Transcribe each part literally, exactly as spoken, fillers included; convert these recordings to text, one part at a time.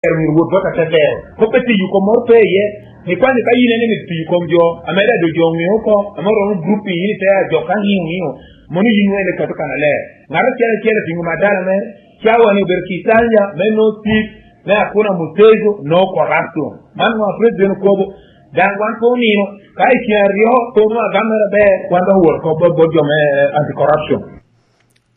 myero wot bot atetero. Kop pe tiyo kom moro pe iye. Ni kwan ka yin ene myero tiyo kom jo, ame daŋ jo ŋeo oko, ame oromo grup i yin ite jo ka ŋeo ŋeo. Mono yin wene kato kan aler. Ŋat acel acel atingo madala mere, cawa ni obedo Kisanja, me no tip, me akuna Mutejo, no corruption. Man ŋo a president okobo? Daŋ wan pe onino, ka i ceng aryo pe onwoŋo agam mere aber, wan dok owot oko bot, bot jo me, eh, anti-corruption.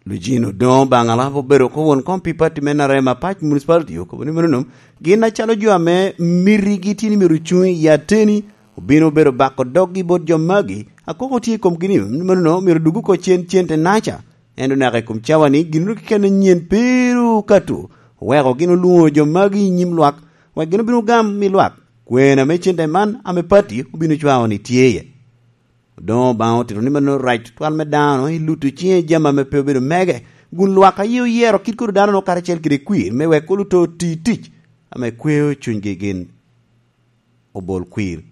Lujin Odongo Baŋala obedo oko won kom pi pati me N R M Apac Municipality okobo ni manono, gin acalo jo ame mitigi tye ni myero ocuŋ i ateni, obino obedo bako doggi bot jo magi, akoko tye i komgi ni manono myero dug oko cen cente naca, ento naka i kom cawa ni gin keken anyen pe ru okato, oweko gin olwoŋo jo magi i nyim lwak, wek gin obin ogam i lwak kwen ame cente man ame pati obino cwao ni tye iye. Odoŋo Obaŋa otito ni mano rac tutwal me dano i luto ciŋe jami ame pe obedo mege, kun lwak aye oyero kit kodo dano-nu karacel kede kwir me wek oluto oti tic ame kweo cunygi gin obol kwir.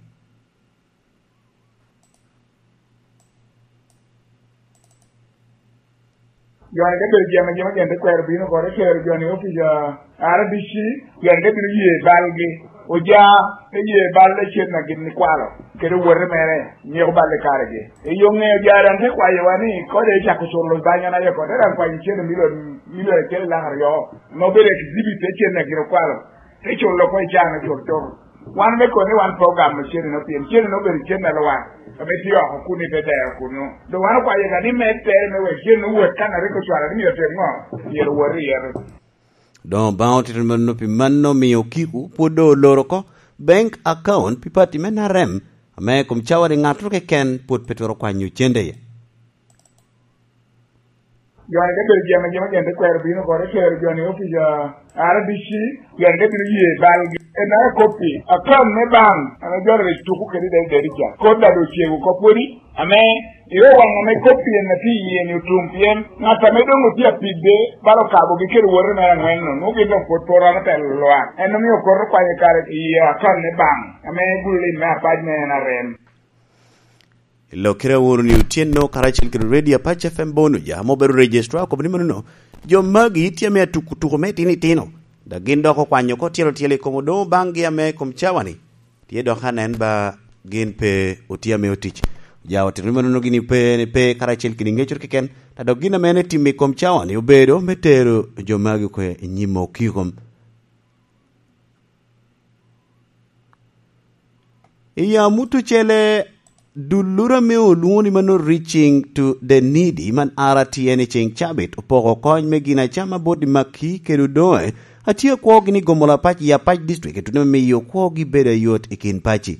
Jo-ni te bedo jami ajama, jo-ni te kwero bino oko, te tero jo-ni i opic a R D C, jo-ni te bino ye balgi, oja, te ye bal lecen a gin ikwalo, kede owote mere, nyeko bal i karegi. I yo ŋeo jo daŋ te kwayowa ni, kode ecako culo banya na yoko, te daŋ kwanyo cene milion, milion acel i lak aryo, ame obedo exhibit te cen a gin okwalo, te culo oko i caa me cul cul. Wan me koni wan pe ogamo cene-no, pien cene-no obedo cene a lwak, ame tye oko kun i te dero kunnu. Doŋ wan okwayo ka ni med tere me wek cene-no wot kan a rik ocwalo ni myero otim ŋo, myero owot i yero. Doŋ Obaŋa otito mano pi mano omiyo Okiko pwod doŋ oloro oko bank account pi pati me N R M, ame i kom cawa ni ŋattoro keken pwod pe twero kwanyo cente iye. Jo-ni te bedo jami ajama, jo-ni te kwero bino oko, te tero jo-ni i opic a R D C, jo-ni te bino ye balgi. En aye koppi, akan me bank, ame jo-ni rik tuko kede i Dede ca. Kodi daŋ doŋ ocego oko pwodi, ame i owaŋ ame koppi en atye iye-ni otum, pien ŋat ame doŋ otye apide bala okabogi kede owote mere aŋwen-nu, nwoŋo gin doŋ pwod pe oromo telo lwak. En omio okoto kwanyo kare i akan me bank, ame gulu lim me Apac me N R M. I Lokere Aworo ni otyeno karacel kede Radio Apac F M Bonuja ame obedo Registrar okobo ni manono, jo magi tye ame atuko tuko me itino itino, dok gin dok okwanyo oko tyelo tyelo i kom Odoŋo baŋgi ame i kom cawa-ni tye dok anen ba gin pe otye ame otic. Oja otito ni manono gin pe, pe karacel kede ŋecoro keken, dok gin ame en etimo i kom cawa-ni obedo me tero jo magi oko i nyim Okiko. I amut ocele, dulloro ame olwoŋo ni mano Reaching to the Needy man R T N i ceŋ cabit opoko kony me gin acama bot i Makki kede Odoŋe, atye akwogi ni gomola pac i Apac District i tuno me miyo kwogi bedo ayot i kin paci.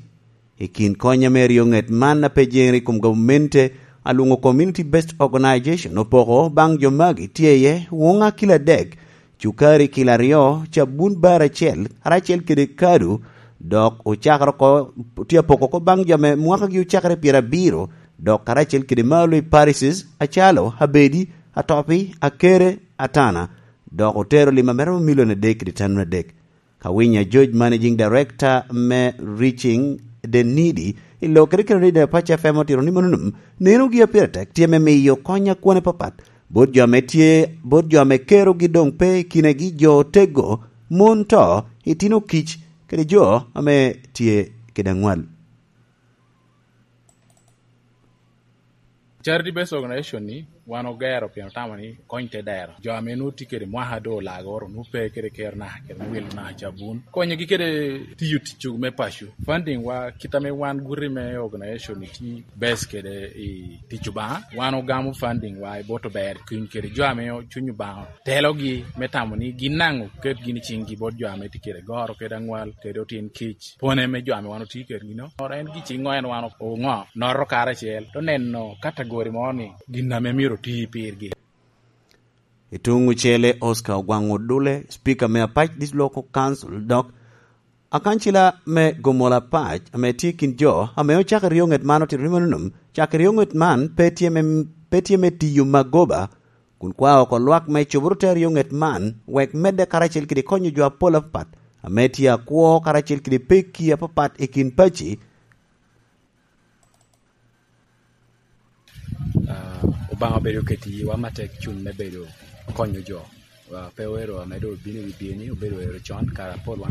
I kin kony ame ryo ŋet man a pe jeŋere i kom gamente, alwoŋo Community Based Organization opoko baŋ jo magi tye iye woŋa kilo adek, cukari kilo aryo, cabun bar acel, karacel kede kado, dok ocakere oko, tye apoko oko baŋ jo ame mwakagi ocakere pyerabiro, dok karacel kede malo i parishes, acalo, abedi, atopi, akere, atana, dok otero lim a mere milion adek kede tanun adek. Ka winyo George, Managing Director me Reaching the Needy, i Lokere kede Radio Apac F M otito ni manono, nenogi a pire tek tye me miyo kony a kwone papat bot jo ame tye, bot jo ame kerogi doŋ pe i kinegi, jo otego, mon to, itino kic, kede jo ame tye kede aŋwal. Charity Based Organization ni wan ogero pien otamo ni kony te dero. Jo ame nwoŋo tye kede mwaka doŋ olagoro, nwoŋo pe kede kero naka, kede wil naka cabun. Konyogi kede tiyo tic me paco. Funding wa, kit ame wan guti me organization ni tye base kede i tic Obaŋa, wan ogamo funding wa i bot ober cuny kede jo ame cuny Obaŋa telogi me tamo ni gin daŋ oket gin i ciŋgi bot jo ame tye kede goro kede aŋwal kede otin kic. Pwone me jo ame wan otye kedgi-nu, oro en giciŋo en wan oŋo, noto karacel, te neno kategori mo ni gin ame myero oti pirgi. I tuŋ ocele, Oscar Ogwaŋ Odule, Speaker me Apac District Local Council, dok akancila me Gomola Pac, ame tye i kin jo ame ocako ryo ŋet man, otito ni manono, cako ryo ŋet man pe tye me, pe tye me tiyo magoba, kun kwao oko lwak me coboro te aryo ŋet man, wek medde karacel kede konyo jo apol apapat, ame tye akwo karacel kede pekki apapat i kin paci. Ah, Obaŋa obedo oketo i yiwa matek cuny me bedo konyo jo. Wa pe oero ame doŋ obino i wi dyeni, obedo oero con, kare apol wan